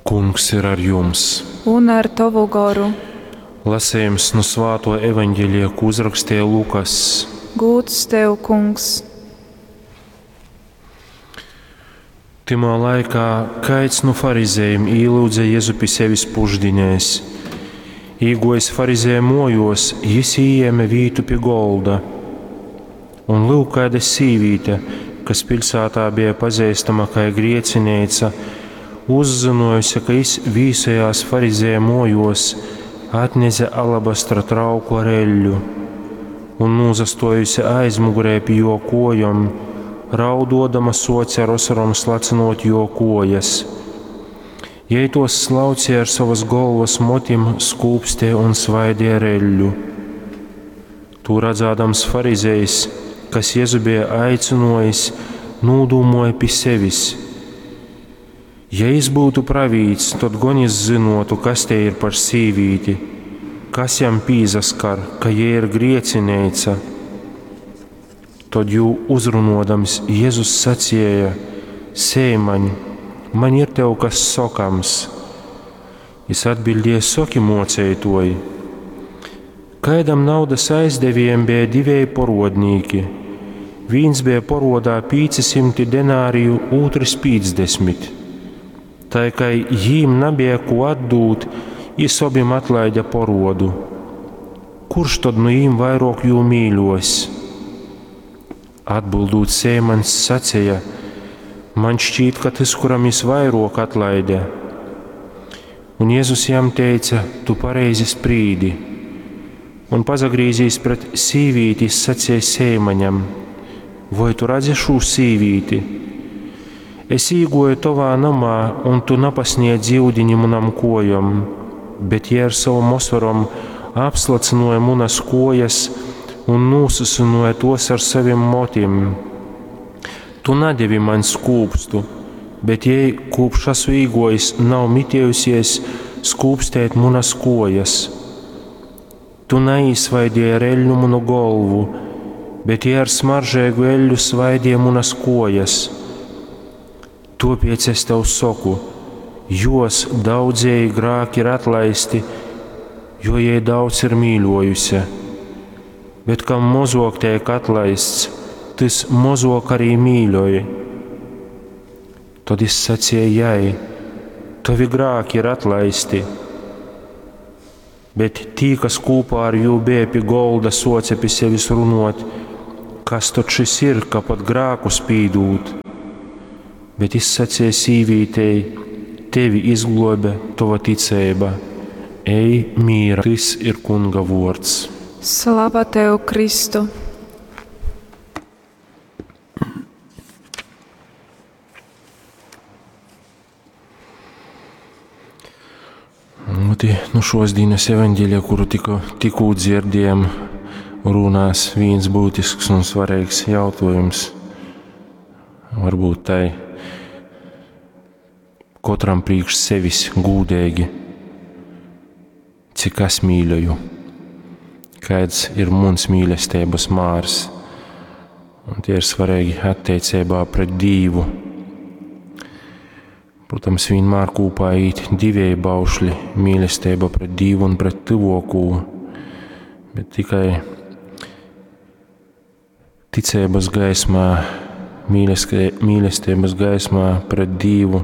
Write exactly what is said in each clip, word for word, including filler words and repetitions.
Kungs ir ar jums! Un ar tovu goru. Lasījums no Svāto evaņģēlija, ko uzrakstīja Lukas. Gūds tev, Kungs! Tymā laikā kaids nu farizējiem īlūdza Jēzu pi sevis pušdinēs. Īgojis farizēja mojos, jis ījēma vītu pi golda. Un lūk, kāda sīvīte, kas pilsētā bija pazīstama kā griecineica, uzzinojusi, ka jis vīsojās farizēja mojos, atnese alabastra trauku ar eļļu un nūzastojusi aizmugurē pi jo kojom, raudodama soce ar osorom slacinot jo kojas. Jei tos slaucīja ar savas golvas motim, skūpstē un svaidīja ar eļļu. Tū redzādams farizejs, kas Jēzu bija aicinojis, nūdūmoja pi sevis. Ja jis būtu pravīts, tod gon jis zynotu, kas te ir par sīvīti, kas jam pīzaskar, ka jei ir griecineica. Tod jū uzrunodams Jēzus sacīja: Seimaņ, man ir tev kas sokams. Jis atbildēja: Soki, mocētoji. Kaidam naudas aizdevējam bija divēji porodnīki. Vīns bija porodā pīci simti denāriju, ūtrs pīcdesmit. Tai kā jīm nabija ko atdūt, jis obim atlaida porodu. Kurš tad nu jīm vairāk jū mīļos? Atbildūt Sēmans sacīja: Man šķiet, ka tas, kuram jis vairāk atlaida. Un Jēzus jam teica: Tu pareizi sprīdi. Un pazagrīzīs pret sīvīti, jis sacīja Sēmaņam: Vai tu redzi šo sīvīti? Es īgoju tavā namā, un tu napasniedz iudiņu munam kojom, bet jie ar savu osorom apslacinoja munas kojas un nūsusinoja tos ar savim motim. Tu nedevi man skūpstu, bet jei, kopš esmu īgojis, nav mitējusies skūpstēt munas kojas. Tu neizsvaidīji ar eļļu manu golvu, bet jie ar smaržīgu eļļu svaidīja munas kojas. Tāpēc es tev saku, jos daudzēji grāki ir atlaisti, jo jai daudz ir mīļojusi. Bet kam mozok tiek atlaists, tas mozok arī mīļoja. Tad es sacīju jai: Tavi grāki ir atlaisti. Bet tī, kas kopā ar jū bija pie golda, soce pie sevis runot, kas tad šis ir, ka pat grākus pīdūt? Bet es sacīju sīvītei: Tevi izglobe tava ticība. Ej mīra, tas ir Kunga vords. Slava tev, Kristu! Lūti, nu šos dienas evaņģēlijā, kuru tikko, tikko dzirdējām, runās viens būtisks un svarīgs jautājums. Varbūt tai katram priekš sevis gūdīgi, cik es mīļoju, kāds ir mans mīlestības mārs. Un tie ir svarīgi attiecībā pret Dievu. Protams, vienmēr kopā īt divēji baušļi – mīlestība pret Dievu un pret tuvāko, bet tikai ticības gaismā, mīlestības gaismā pret Dievu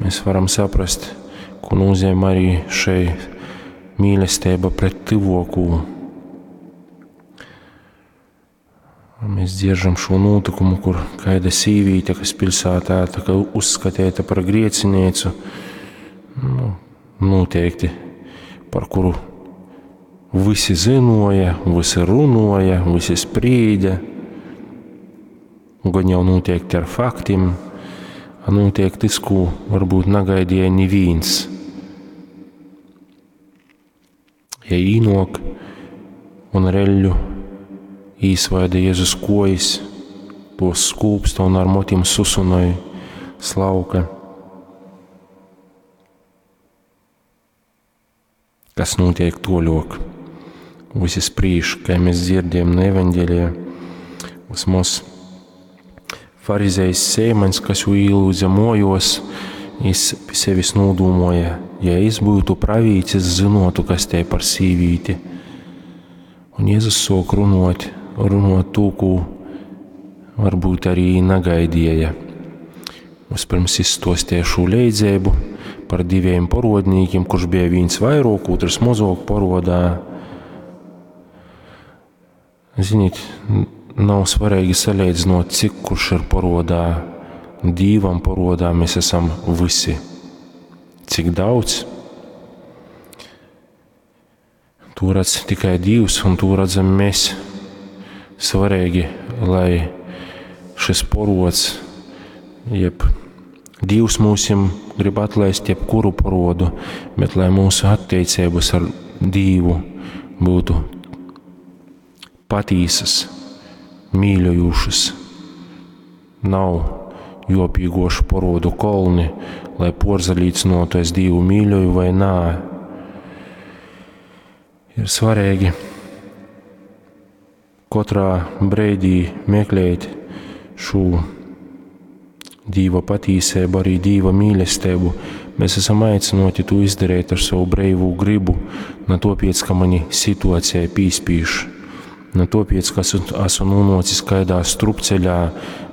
mēs varam saprast, ko nozīmē arī šai mīlestība pret tuvāko. Mēs dzirdam šo notikumu, kur kāda sīvīte, kas pilsētā tā kā uzskatīta par griecinīcu, nu, noteikti par kuru visi zinoja, visi runoja, visi sprīda, gan jau noteikti ar faktiem, a notiek tas, ko varbūt negaidīja neviens. Ja īnok un ar eļļu īsvaida Jēzus kojas, tos skūpsta un ar motim susunoja slauka. Kas notiek toļok? Visi sprīž, kā mēs dzirdējam no evaņģēlijā, vismaz farizējs Sēmaņs, kas jū ielūdza mojos, Jis pi sevis nūdūmuoja, ja es būtu pravītis, zynuotu, kas te par sīvīti. Un Jēzus suok runuot, runuot tū, ko varbūt arī nagaidīja. Vispirms izstostīja šo leidzēbu par diviem porodnīkiem, kurš bija viens vairāk, otrs mazāk porodā. Ziniet, nav svarīgi salīdzinot, cik kurš ir porodā. Dīvam porodā mēs esam visi. Cik daudz? To redz tikai Dievs, un to redzam mēs. Svarīgi, lai šis porods, jeb Dievs mūsim grib atlaist jebkuru porodu, bet lai mūsu attiecības ar Dievu būtu patīsas, mīļojušas. Nav jopīgošu porodu kolni, lai porzalīdzinotu, es Dievu mīļoju vai nā. Ir svarīgi katrā breidī meklēt šo Dīva patīsību, arī Dīva mīlestību. Mēs esam aicināti to izdarīt ar savu brīvu gribu, ne tāpēc, ka mani situācija pīspīš, ne tāpēc, ka esmu, esmu nonācis kādā strupceļā,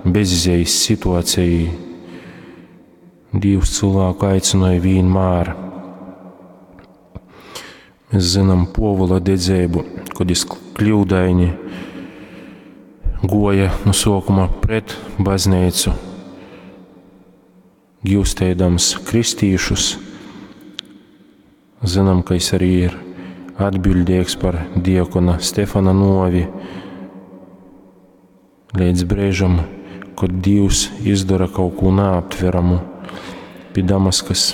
bezizējas situācijā. Dievs cilvēku aicināja vienmēr. Mēs zinām Povula dedzību, kad viņš kļūdaini goja no sākuma pret baznīcu, gūstēdams kristīšus. Zinām, ka viņš arī ir atbildīgs par diakona Stefana novi līdz brīžam, kad Dievs izdara kaut ko neaptveramu pie Damaskas.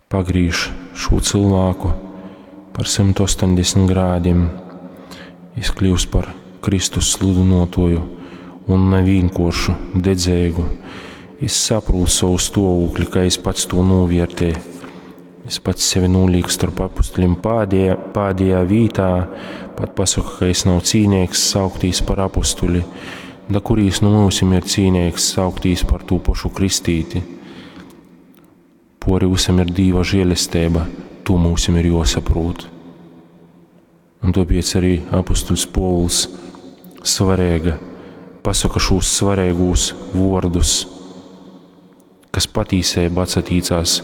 Pagrīž šo cilvēku par simt astoņdesmit grādiem, viņš kļūst par Kristus sludinotoju un ne vienkāršu dedzīgu. Es saprotu savu stāvokli, ka es pats to novērtēju. Es pats sevi nolieku starp apustuļiem pādējā, pādējā vītā, pat pasaku, ka es nav cīnīgs sauktīs par apustuļi, da kurīs nu mūsim ir cīnīgs sauktīs par tū pašu kristīti. Pori visam ir Dīva žēlestība, to mūsim ir jāsaprot. Un tāpēc arī apustuļs Pōvuls svarīga pasaka šos svarīgos vārdus, kas patīsībā atsatīcās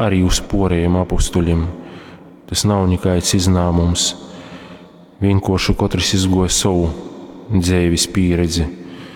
arī uz porējiem apustuļiem. Tas nav nekāds iznāmums. Vienkārši katrs izgoja savu dzīves pieredzi.